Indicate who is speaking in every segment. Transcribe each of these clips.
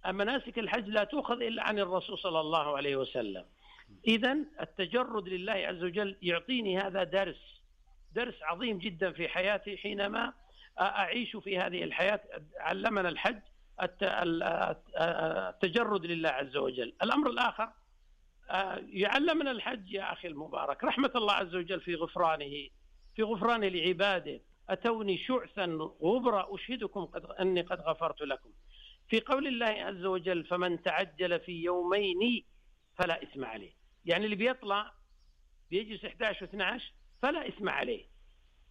Speaker 1: مناسك الحج لا تؤخذ إلا عن الرسول صلى الله عليه وسلم. إذن التجرد لله عز وجل يعطيني هذا درس عظيم جدا في حياتي حينما أعيش في هذه الحياة. علمنا الحج التجرد لله عز وجل. الأمر الآخر يعلمنا الحج يا أخي المبارك رحمة الله عز وجل في غفرانه لعباده. أتوني شعثا غبرا أشهدكم أني قد غفرت لكم. في قول الله عز وجل فمن تعجل في يومين فلا إثم عليه، يعني اللي بيطلع بيجلس 11 و12 فلا إثم عليه،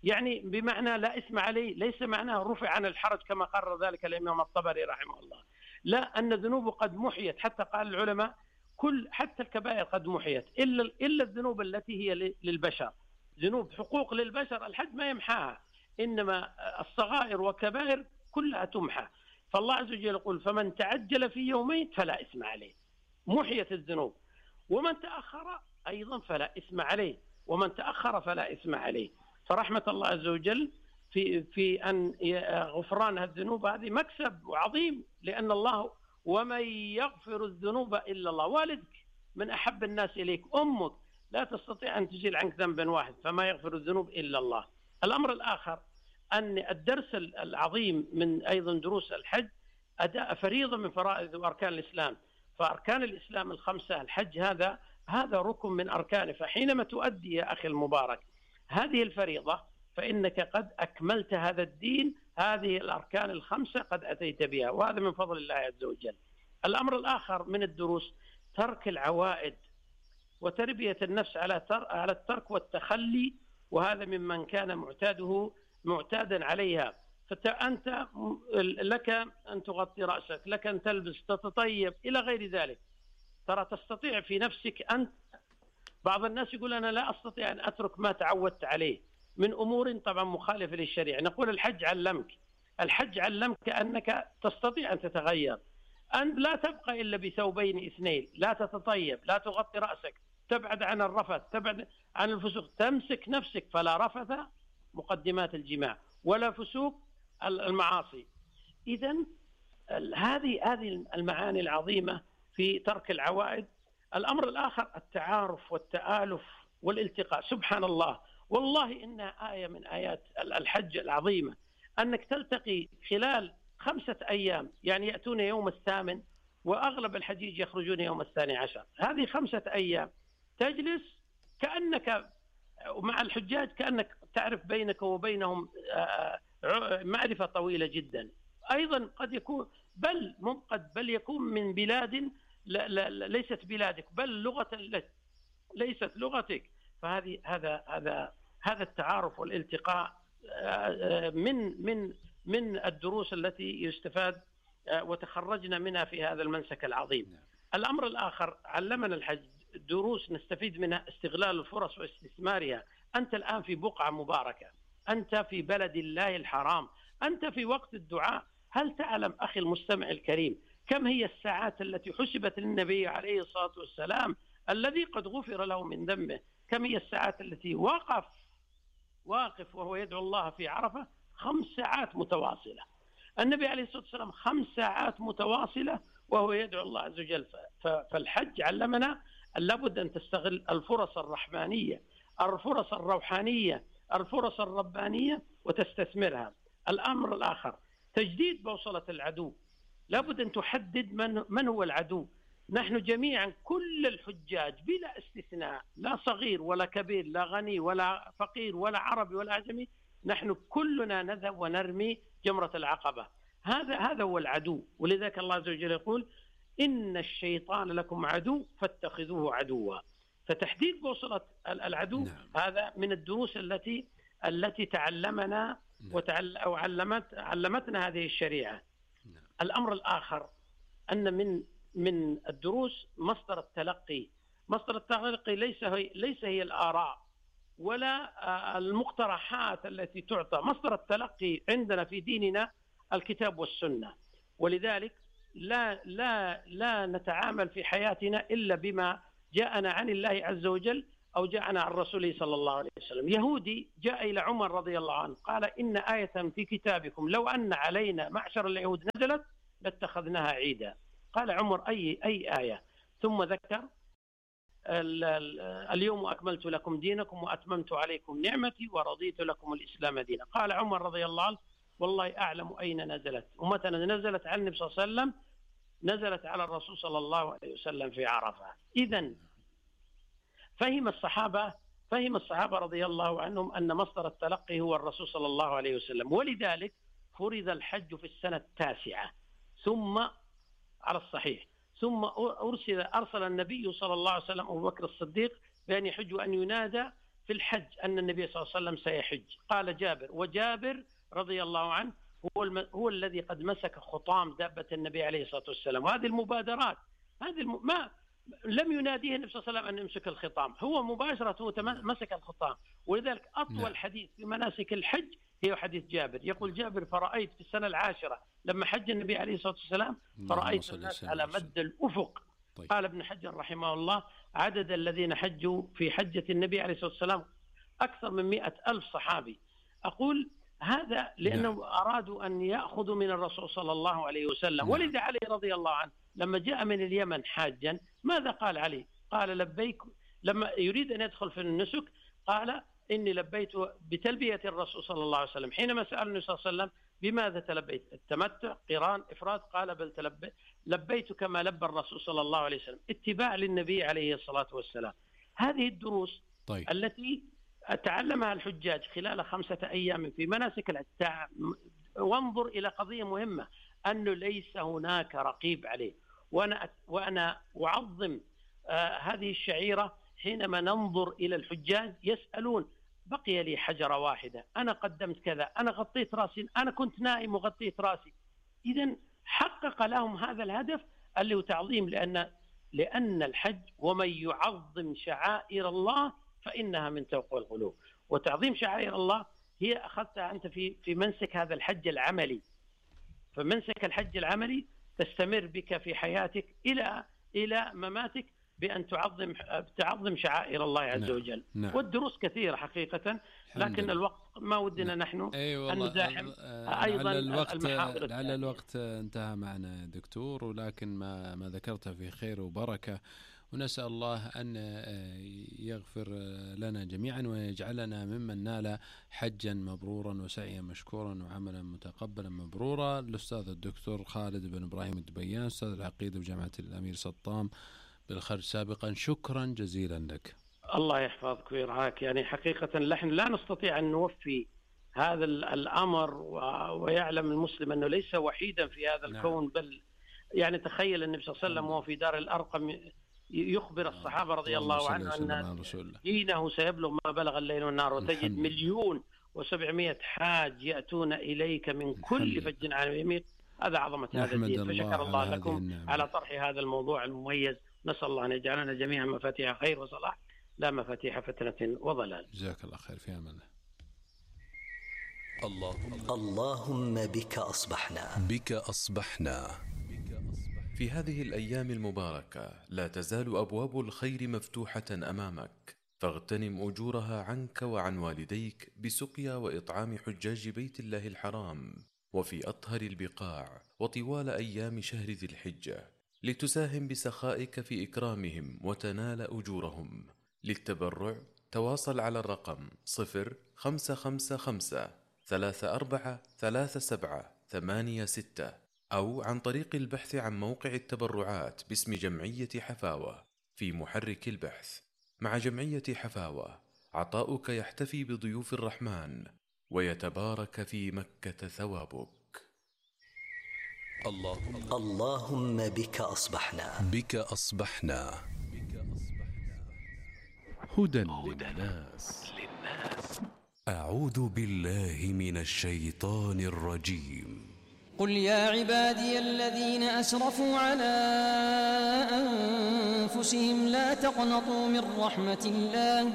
Speaker 1: يعني بمعنى لا إثم عليه ليس معناه رفع عن الحرج كما قرر ذلك الإمام الطبري رحمه الله، لا، أن ذنوبه قد محيت، حتى قال العلماء حتى الكبائر قد محيت إلا الذنوب التي هي للبشر، ذنوب حقوق للبشر الحج ما يمحاها، إنما الصغائر وكبائر كلها تمحى. فالله عز وجل يقول فمن تعجل في يومين فلا إثم عليه، محيت الذنوب. ومن تأخر أيضا فلا إثم عليه، ومن تأخر فلا إثم عليه. فرحمة الله عز وجل في أن غفران الذنوب هذه مكسب عظيم، لأن الله ومن يغفر الذنوب إلا الله. والدك من أحب الناس إليك، أمك لا تستطيع أن تزيل عنك ذنبا واحد، فما يغفر الذنوب إلا الله. الأمر الآخر أن الدرس العظيم من أيضا دروس الحج أداء فريضة من فرائض وأركان الإسلام. فأركان الإسلام الخمسة الحج هذا ركن من أركانه. فحينما تؤدي يا أخي المبارك هذه الفريضة فإنك قد أكملت هذا الدين، هذه الأركان الخمسة قد أتيت بها، وهذا من فضل الله عز وجل. الأمر الآخر من الدروس ترك العوائد وتربية النفس على الترك والتخلي، وهذا ممن كان معتادا عليها. فأنت لك أن تغطي رأسك، لك أن تلبس، تتطيب إلى غير ذلك، ترى تستطيع في نفسك أنت. بعض الناس يقول أنا لا أستطيع أن أترك ما تعودت عليه من أمور طبعا مخالفة للشريعة. نقول الحج علمك أنك تستطيع أن تتغير، أن لا تبقى إلا بثوبين اثنين، لا تتطيب، لا تغطي رأسك، تبعد عن الرفث، تبعد عن الفسوق، تمسك نفسك، فلا رفث مقدمات الجماع ولا فسوق المعاصي. إذن هذه المعاني العظيمة في ترك العوائد. الأمر الآخر التعارف والتآلف والالتقاء. سبحان الله، والله إنها آية من آيات الحج العظيمة، أنك تلتقي خلال 5 أيام، يعني يأتون يوم 8 وأغلب الحجيج يخرجون يوم 12. هذه 5 أيام تجلس كأنك مع الحجاج، كأنك تعرف بينك وبينهم معرفة طويلة جدا. أيضا قد يكون بل يكون من بلاد ليست بلادك، بل لغة ليست لغتك. فهذه هذا التعارف والالتقاء من الدروس التي يستفاد وتخرجنا منها في هذا المنسك العظيم. الأمر الآخر علمنا الحج دروس نستفيد منها، استغلال الفرص واستثمارها. أنت الآن في بقعة مباركة، أنت في بلد الله الحرام، أنت في وقت الدعاء. هل تعلم أخي المستمع الكريم كم هي الساعات التي حسبت للنبي عليه الصلاة والسلام الذي قد غفر له من ذنبه؟ كم هي الساعات التي واقف وهو يدعو الله في عرفة 5 ساعات متواصلة. النبي عليه الصلاة والسلام 5 ساعات متواصلة وهو يدعو الله عز وجل. فالحج علمنا أن لابد أن تستغل الفرص الرحمانية، الفرص الروحانية، الفرص الربانية وتستثمرها. الأمر الآخر تجديد بوصلة العدو. لابد أن تحدد من هو العدو. نحن جميعا كل الحجاج بلا استثناء، لا صغير ولا كبير، لا غني ولا فقير ولا عربي ولا أعجمي، نحن كلنا نذهب ونرمي جمرة العقبة. هذا هو العدو. ولذلك الله عز وجل يقول إن الشيطان لكم عدو فاتخذوه عدوا. فتحديد بوصلة العدو هذا من الدروس التي تعلمنا أو علمتنا هذه الشريعة. الأمر الآخر أن من الدروس مصدر التلقي. مصدر التلقي ليس هي الآراء ولا المقترحات التي تعطى. مصدر التلقي عندنا في ديننا الكتاب والسنة. ولذلك لا نتعامل في حياتنا إلا بما جاءنا عن الله عز وجل أو جاءنا عن رسوله صلى الله عليه وسلم. يهودي جاء إلى عمر رضي الله عنه قال إن آية في كتابكم لو أن علينا معشر اليهود نزلت لاتخذناها عيدا. قال عمر: أي آية؟ ثم ذكر: اليوم أكملت لكم دينكم وأتممت عليكم نعمتي ورضيت لكم الإسلام دينا. قال عمر رضي الله عنه: والله أعلم أين نزلت. ومتى نزلت على النبي صلى الله عليه وسلم؟ نزلت على الرسول صلى الله عليه وسلم في عرفة. إذن فهم الصحابة رضي الله عنهم أن مصدر التلقي هو الرسول صلى الله عليه وسلم، ولذلك فرض الحج في السنة 9 ثم على الصحيح، ثم أرسل النبي صلى الله عليه وسلم أبو بكر الصديق بأن يحج وأن ينادى في الحج أن النبي صلى الله عليه وسلم سيحج. قال جابر، وجابر رضي الله عنه هو الذي قد مسك خطام دابة النبي عليه الصلاة والسلام. وهذه المبادرات ما لم يناديه النبي صلى الله عليه وسلم أن يمسك الخطام، هو مباشرة مسك الخطام. ولذلك أطول حديث في مناسك الحج هي حديث جابر. يقول جابر: فرأيت في السنة 10 لما حج النبي عليه الصلاة والسلام فرأيت الناس على مد الأفق.
Speaker 2: طيب.
Speaker 1: قال ابن حجر رحمه الله: عدد الذين حجوا في حجة النبي عليه الصلاة والسلام أكثر من 100,000 صحابي. أقول هذا لأنه أرادوا أن يأخذوا من الرسول صلى الله عليه وسلم. ولذا علي رضي الله عنه لما جاء من اليمن حاجا ماذا قال علي؟ قال: لبيك. لما يريد أن يدخل في النسك قال: إني لبيت بتلبية الرسول صلى الله عليه وسلم. حينما سأل النبي صلى الله عليه وسلم: بماذا تلبيت؟ التمتع، قران، إفراد؟ قال: بل لبيت كما لبى الرسول صلى الله عليه وسلم، اتباع للنبي عليه الصلاة والسلام. هذه الدروس التي تعلمها الحجاج خلال 5 أيام في مناسك الحج. وانظر إلى قضية مهمة، أنه ليس هناك رقيب عليه. وأنا أعظم هذه الشعيرة حينما ننظر إلى الحجاج يسألون: بقي لي حجرة واحدة، أنا قدمت كذا، أنا غطيت رأسي، أنا كنت نائم وغطيت رأسي. إذن حقق لهم هذا الهدف اللي هو تعظيم، لأن الحج ومن يعظم شعائر الله فإنها من تقوى القلوب. وتعظيم شعائر الله هي أخذتها أنت في منسك هذا الحج العملي. فمنسك الحج العملي تستمر بك في حياتك إلى مماتك بأن تعظم شعائر الله عز وجل. والدروس كثيرة حقيقة، لكن الوقت ما ودنا نحن أن نزاحم أيضا المحاضر.
Speaker 2: لعل الوقت انتهى معنا دكتور، ولكن ما ذكرته في خير وبركة، ونسأل الله أن يغفر لنا جميعا ويجعلنا ممن نال حجا مبرورا وسعيا مشكورا وعملا متقبلا مبرورا. الأستاذ الدكتور خالد بن إبراهيم الدبيان، أستاذ العقيدة بجامعة الأمير سطام بالخرج سابقا، شكرا جزيلا لك.
Speaker 1: الله يحفظك ويرعاك. يعني حقيقة نحن لا نستطيع أن نوفي هذا الأمر، ويعلم المسلم أنه ليس وحيدا في هذا الكون. بل يعني تخيل النبي صلى الله عليه وسلم وهو في دار الأرقم يخبر الصحابة رضي الله عنه أن دينه سيبلغ ما بلغ الليل والنهار، وتجد 1,700,000 حاج يأتون إليك من كل فج عميق. هذا عظمة هذا الدين. فشكر الله لكم على طرح هذا الموضوع المميز. نسأل الله أن يجعلنا جميعا مفاتيح خير وصلاح لا مفاتيح فتنة وضلال.
Speaker 2: جزاك الله خير، في أمان
Speaker 3: الله. اللهم بك أصبحنا. في هذه الأيام المباركة لا تزال أبواب الخير مفتوحة أمامك، فاغتنم أجورها عنك وعن والديك بسقيا وإطعام حجاج بيت الله الحرام وفي أطهر البقاع وطوال أيام شهر ذي الحجة، لتساهم بسخائك في إكرامهم وتنال أجورهم. للتبرع تواصل على الرقم 0555-343786 أو عن طريق البحث عن موقع التبرعات باسم جمعية حفاوة في محرك البحث. مع جمعية حفاوة عطاؤك يحتفي بضيوف الرحمن ويتبارك في مكة ثوابك. اللهم بك أصبحنا.
Speaker 2: هدى للناس.
Speaker 3: أعوذ بالله من الشيطان الرجيم.
Speaker 4: قل يا عبادي الذين أسرفوا على أنفسهم لا تقنطوا من رحمة الله